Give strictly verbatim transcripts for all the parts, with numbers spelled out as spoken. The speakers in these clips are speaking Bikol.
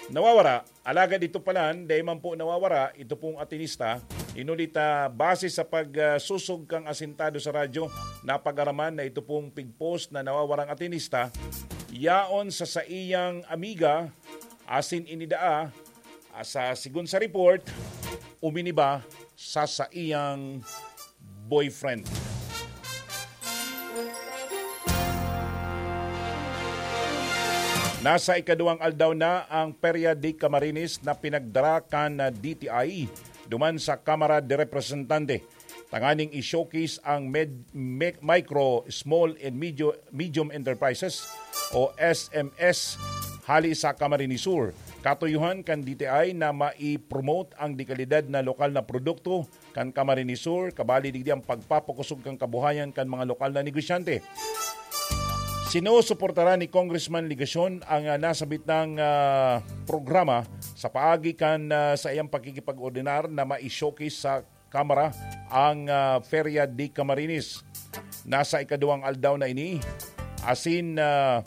nawawara. Alagad ito palan, dai man po nawawara, ito pong atinista. Inulit, ah, base sa pagsusog kang asintado sa radyo, napag-araman na ito pong pigpost na nawawarang atinista, yaon sa saiyang amiga, asin inidaa, ah, sa, sigon sa report, uminiba sa saiyang boyfriend. Nasa ikaduwang aldaw na ang Feria de Camarines na pinagdara kan D T I duman sa Kamara de Representante, tanganing i-showcase ang med-, me-, micro, small and medio-, medium enterprises o S M Es hali sa Camarines Sur. Katuyuhan kan D T I na mai-promote ang dekalidad na lokal na produkto kan Camarines Sur, kabali digdi ang pagpapakosog kan kabuhayan kan mga lokal na negosyante. Sinusuportaran ni Congressman Legacion ang, ah, nasabit nang, ah, programa sa paagi kan, ah, sa iyang pakikipag-ordinar na mai-showcase sa Kamara ang, ah, Feria de Camarines. Nasa ikaduwang aldaw na ini, asin, ah,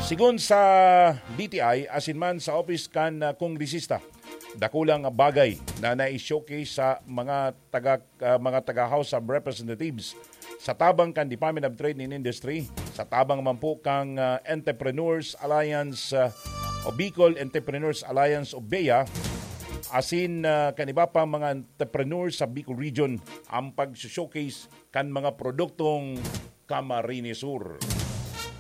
sigon sa D T I, asin man sa office kan, ah, kongresista, dakulang bagay na nai-showcase sa mga taga, ah, mga taga House of Representatives sa tabang kan Department of Trade and Industry, sa tabang man po kang, ah, Entrepreneurs Alliance, ah, o Bicol Entrepreneurs Alliance o BEA, asin, ah, kan iba pang mga entrepreneurs sa Bicol Region ang pag-showcase kan mga produktong Camarines Sur.